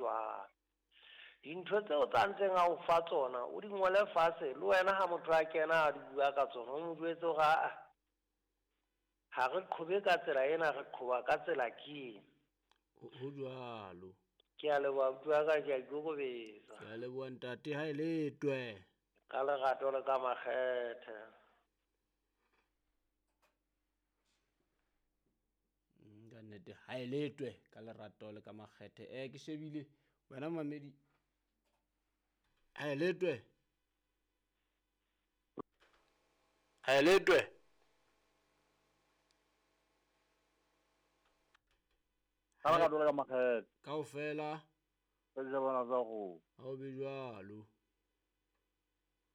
jwalo. Dintho tseo tsa ntseng a o fa tsona o di ngole fatshe le wena ha motho a kena a di bua ka tsona o mo jwetse hore aa ha re qhobe ka tsela ena re qhoba ka tsela ke ena. Ho jwalo. Ke a leboha abuti wa ka ke a ikokobetsa. Ke a leboha ntate ha e letwe. Ka lerato le ka makgethe. Ka nnete ha e letwe ka lerato le ka makgethe. Ke shebile wena mamedi ha e letwe. Ha e letwe. Ka lerato le ka makgethe. Kaofela. Ka dijabana tsa go. Ha o be jwalo.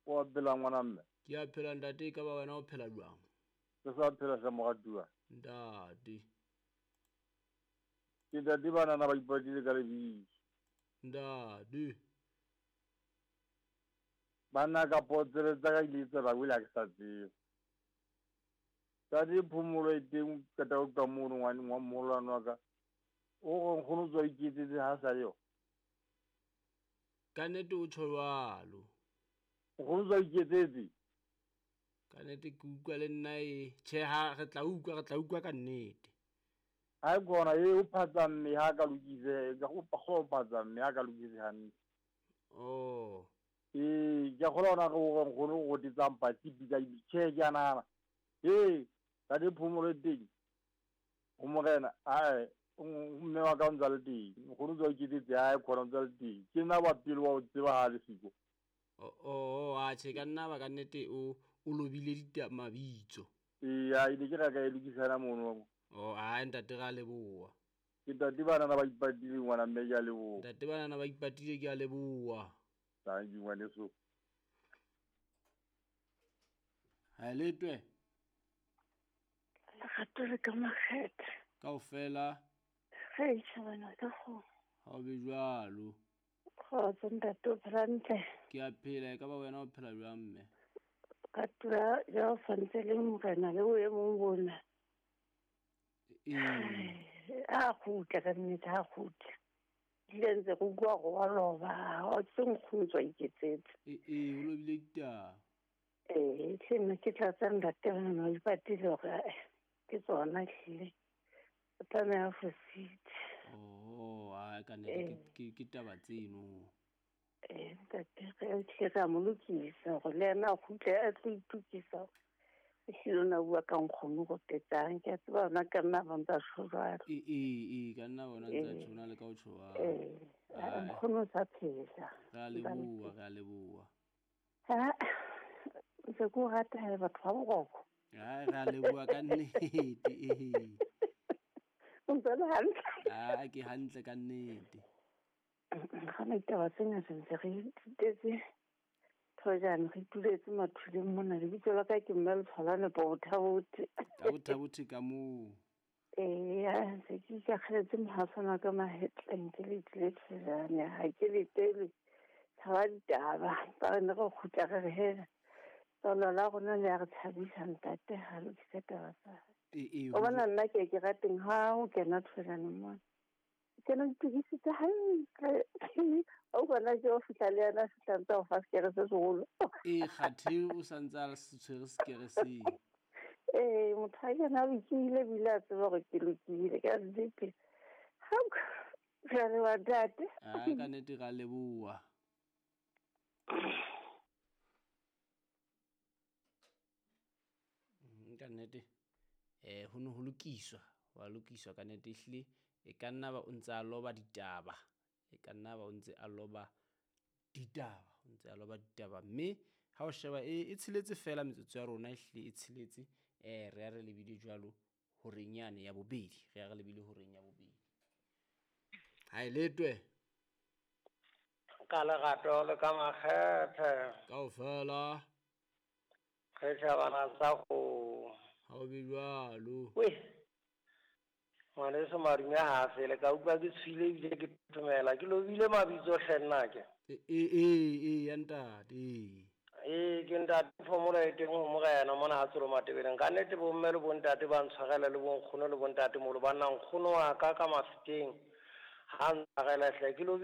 O a phela ngwana mme? Ke a phela ntate, e ka ba wena o phela jwang? Ke sa phela hle moratuwa. Ntate. Ke ntate banana ba ipatile ka lebitso. Ntate. Banna ka potsele tsa ka ile tsa ba wela ke sa tsebe. Ntate phomolo e teng qeta ho ka mono ngwane ngwa moholwane wa ka. O re nkgono tswa iketsetse ha sa le yo. Ka nnete o tjho jwalo. Nkgono tswa iketsetse. Ka nnete ke utlwa le nna e tjhe ha re tla utlwa re tla utlwa ka nnete. Ha e kona e o phatsa mme ha ka lokise ka go go phatsa mme ha ka lokise hantle. Oh. Ee, ke a kgolwa hona re o re nkgono o rotetsang patsi pitsa tjhe ke a nahana. Ee, ntate phomolo e teng. Ho morena, ae mme wa ka o ntsa le teng. Nkgono tswa iketsetse ae khona o ntsa le teng. Ke nna wa pele wa o tseba ha le siko. Oh, atjhe ka nna ba ka nnete o o lobile dita mabitso. Ee, a ile ke ra ka e lokisana mono. Oh, ae ntate ra leboha. Ke ntate banana ba ipatile ngwana mme ke a leboha. Ntate banana ba ipatile ke a leboha. Thank you ngwaneso. Ha letwe. Lerato le ka makgethe. Kaofela. Ge e tšhabana ka go. Ha o be jwalo. Kgotso ntate o phela ntle. Ke a phela e ka ba wena o phela jwang mme? Ka tura ja o santse le morena le boemong bona. Ee. A kgutla ka nnete ha kgutla. Ile ntse go bua go wa loba, o tse nkgono tswa iketsetse. Ee, o lobile ditaba. Ee, hle nna ke tla tsa ntate bana ba ipatile hore ke tsona hlile. O tlameha fositse. Oh, a ka nnete ke taba tseno. Ee, ntate re hlile ra mo lokisa hore le yena a kgutle a tlo itokisa. Ehlile o na bua ka nkgono go tetsang ke a tseba ona ka nna ba ntsa tjho jwalo. Ee, ee, ka nna bona ntsa tjho na le ka o tjho jwalo. Ee, nkgono o sa phela. Re a leboha, re a leboha. Ha ntse ke o rata he batho ba boroko. Ai, re a leboha ka nnete ee. O ntse le hantle. Ah, ke hantle ka nnete. Ga ditaba tse ngata ntse re ithutetse thojane re ituletse mathuleng mona lebitso la ka ke mme Letshwalane Bothabothe. Ka bothabothe ka moo. Ee, ntse ke ikakgeletse mohasana ka mahetleng ke le tlile thojane ha ke letele tshaba ditaba ba re ne re kgutla re re hela tswalo la rona le ya re tshabisa ntate ha lokise taba tsa hae. O bona nna ke ke rateng ha o kena thojane mona. Ke ne itokisitse hantle. O bona ke o fihla le yena a fihla ntse o fa sekere se seholo. Ee, kgathe o sa ntse a se tshwere sekere seo. Ee, motho a kena a lokile ebile a tseba hore ke lokile ka nnete. Ha re a leboha ntate. Ai, ka nnete re a leboha. Ka nnete ho ne ho lokiswa, wa lokiswa ka nnete ehlile e ka nna ba o ntse a loba ditaba, e ka nna ba o ntse a loba ditaba, o ntse a loba ditaba mme ha o sheba e tsheletse fela metsotso ya rona ehlile e tsheletse re ya re lebile jwalo horeng yane ya bobedi, re ya re lebile horeng ya bobedi. Ha e letwe. Ka lerato le ka makgethe. Kaofela. Re tjhabana sa go. Ha o be jwalo. We. Ngwaneso madume ha a fele ka utlwa ke tshwile ebile ke thomela ke lobile mabitso hle nna ke. Ee, ya ntate. Ee, ke ntate phomolo e teng ho morena mona ha tsolo matebeleng. Ka nnete bomme le bontate ba ntshwarela le bonkgono le bontate molo ba nna nkgono wa ka ka mafeteng. Ha ntshwarela hle ke lobile